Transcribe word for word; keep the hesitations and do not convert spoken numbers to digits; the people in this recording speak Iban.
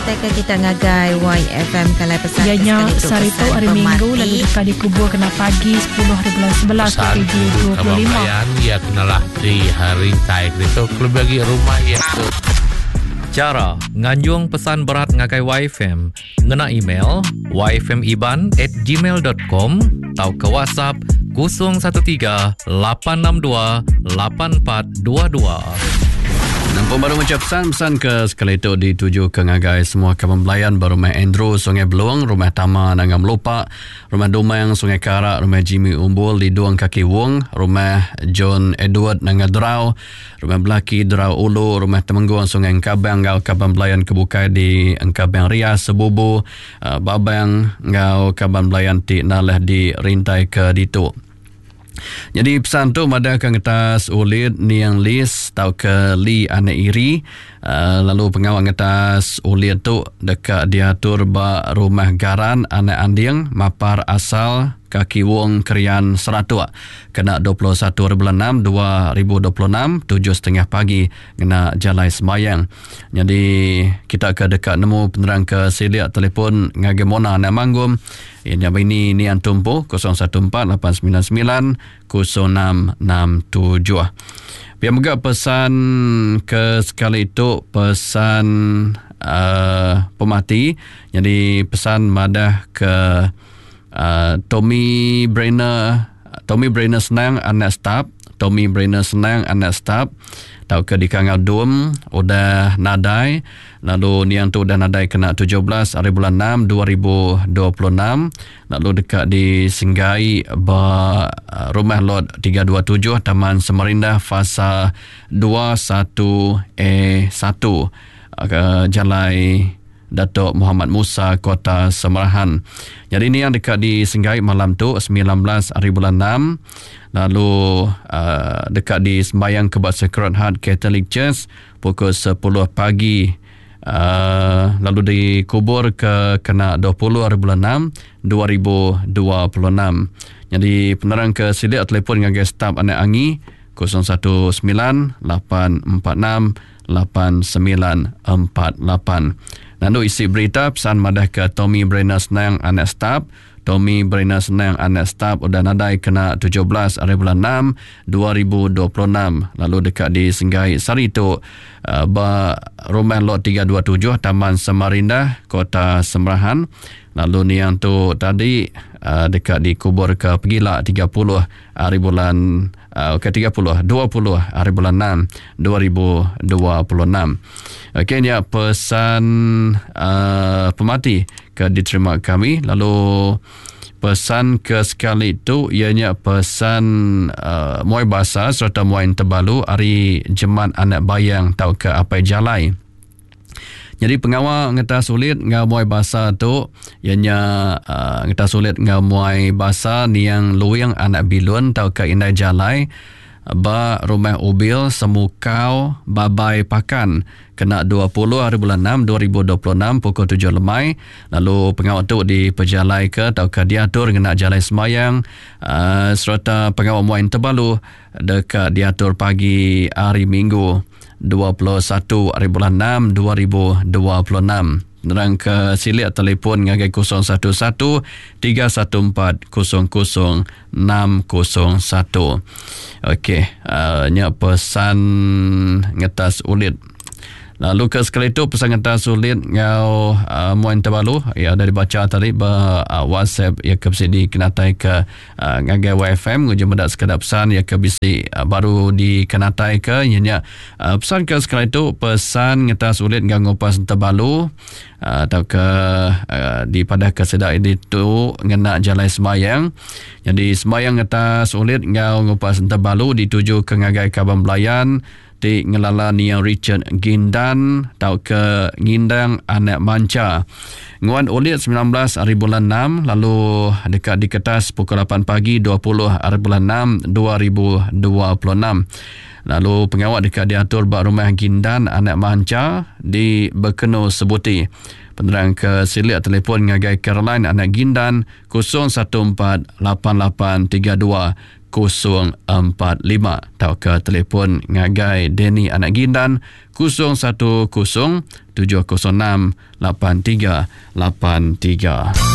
ngenatai ke kita ngagai Y F M kalai pesan ya nya sehari tu hari Minggu lalu deka dikubur kena pagi sepuluh hari bulan sebelas dua ribu dua puluh lima. Ya kenalah di hari tai itu lebih bagi rumah ya tu. Cara nganjung pesan berat ngagai Y F M ngena email y f m iban at gmail dot com atau ke WhatsApp kosong satu tiga lapan enam dua lapan empat dua dua. Nampak baru macam pesan-pesan ke sekali itu dituju ke ngagai semua kawan belayan berumah Andrew Sungai Belung, Rumah Tama Nangam Lupa, Rumah Dumang Sungai Karak, Rumah Jimmy Umbul Lidung Kaki Wong, Rumah John Edward Nanga Derau, Rumah Belaki Derau Ulu, Rumah Temenggung Sungai Engkabang ngau kawan belayan kebukai di Engkabang Ria Sebubu, Babang ngau kawan belayan ti nalah di Rintai ke Ditu. Jadi pesan tu madahkan ngetas ulit niang lis tau ke li anak iri, uh, lalu pengawal ngetas ulit tu dekat diatur ba Rumah Garan Anak Anding Mapar Asal Kaki Wong Krian Seratuk kena dua puluh satu bulan enam dua ribu dua puluh enam tujuh setengah pagi kena jalai sembayang. Jadi kita ke dekat nemu penerang ke siliak telefon ngagai Mona anak Manggum yang ini ni antumpu kosong satu empat lapan sembilan sembilan kosong enam enam tujuh. Biar juga pesan ke sekali itu pesan uh, pemati. Jadi pesan madah ke Uh, Tommy Brenner, Tommy Brenner senang anak staf, Tommy Brenner senang anak staf tau ke di Kangau Dum udah nadai, lalu niang tu udah nadai kena tujuh belas hari bulan enam dua ribu dua puluh enam, lalu dekat di Singgai ba rumah lot tiga dua tujuh Taman Semarinda fasa dua satu A satu ke Jalai Datuk Muhammad Musa Kota Semarahan. Jadi ini yang dekat di Senggai malam tu sembilan belas hari bulan enam, lalu uh, dekat di sembahyang ke Sacred Heart Catholic Church pukul sepuluh pagi, uh, lalu dikubur ke kena dua puluh hari bulan enam dua ribu dua puluh enam. Jadi penerang ke silik telefon ngagai staf anak angi kosong satu sembilan lapan empat enam lapan sembilan empat lapan. Lalu isi berita pesan madah ke Tommy Brenner Senang anak staf, Tommy Brenner Senang anak staf udah nadai kena tujuh belas hari bulan enam dua ribu dua puluh enam, lalu dekat di Senggai Sari tu uh, ba rumah lot tiga dua tujuh Taman Samarinda Kota Semerahan. Lalu niang tu tadi uh, dekat dikubur ke Pegila tiga puluh hari bulan uh, ke tiga puluh dua puluh hari bulan enam dua ribu dua puluh enam. Okey, ni pesan uh, pemati ke diterima kami. Lalu pesan ke sekali tu ianya pesan uh, muai basa serta muai tebalu hari Jemat Anak Bayang tau ke Apai Jalai. Jadi pengawal ngetas sulit ngau muai basa tu ianya uh, ngetas sulit ngau muai basa niang Luing Anak Bilun tau ke Indai Jalai ba Rumah Ubil Semukau Babai Pakan kena dua puluh hari bulan enam dua ribu dua puluh enam pukul tujuh lemai. Lalu pengawal tu dipejalai ke tau ke diatur ngena jalai semayang, uh, serta pengawal muai tebalu dekat diatur pagi hari Minggu dua puluh satu hari bulan enam dua ribu dua puluh enam. Nerang ke silik telefon ngagai kosong satu satu tiga satu empat kosong kosong enam kosong satu. Okey, uh, nya pesan ngetas ulit. Lalu ke sekali tu pesan ngetas ulit ngau uh, muan tebalu ya dari baca tadi ba uh, WhatsApp ya ke bisi dikenatai ke uh, ngagai Y F M ngujung mendak sekadar pesan ya ke bisi uh, baru dikenatai ke ianya uh, pesan ke sekali tu pesan ngetas ulit ngau ngupas tebalu uh, atau ke uh, di padah ke sedak ini tu ngena jalai sembayang. Jadi sembayang ngetas ulit ngau ngupas tebalu dituju ke ngagai kaban belayan ti ngelala niang Richard Gindan tau ke Ngindang Anak Manca. Nguan ulit sembilan belas hari bulan enam, lalu dekat di kertas pukul lapan pagi dua puluh hari bulan enam dua ribu dua puluh enam. Lalu pengawal dekat diatur bak Rumah Gindan Anak Manca di Bekenu Sebuti. Penerang ke silik telefon ngagai Caroline Anak Gindan kosong satu empat lapan lapan tiga dua kosong empat lima tauka telefon ngagai Danny Anak Gindan kosong satu kosong tujuh kosong enam lapan tiga lapan tiga.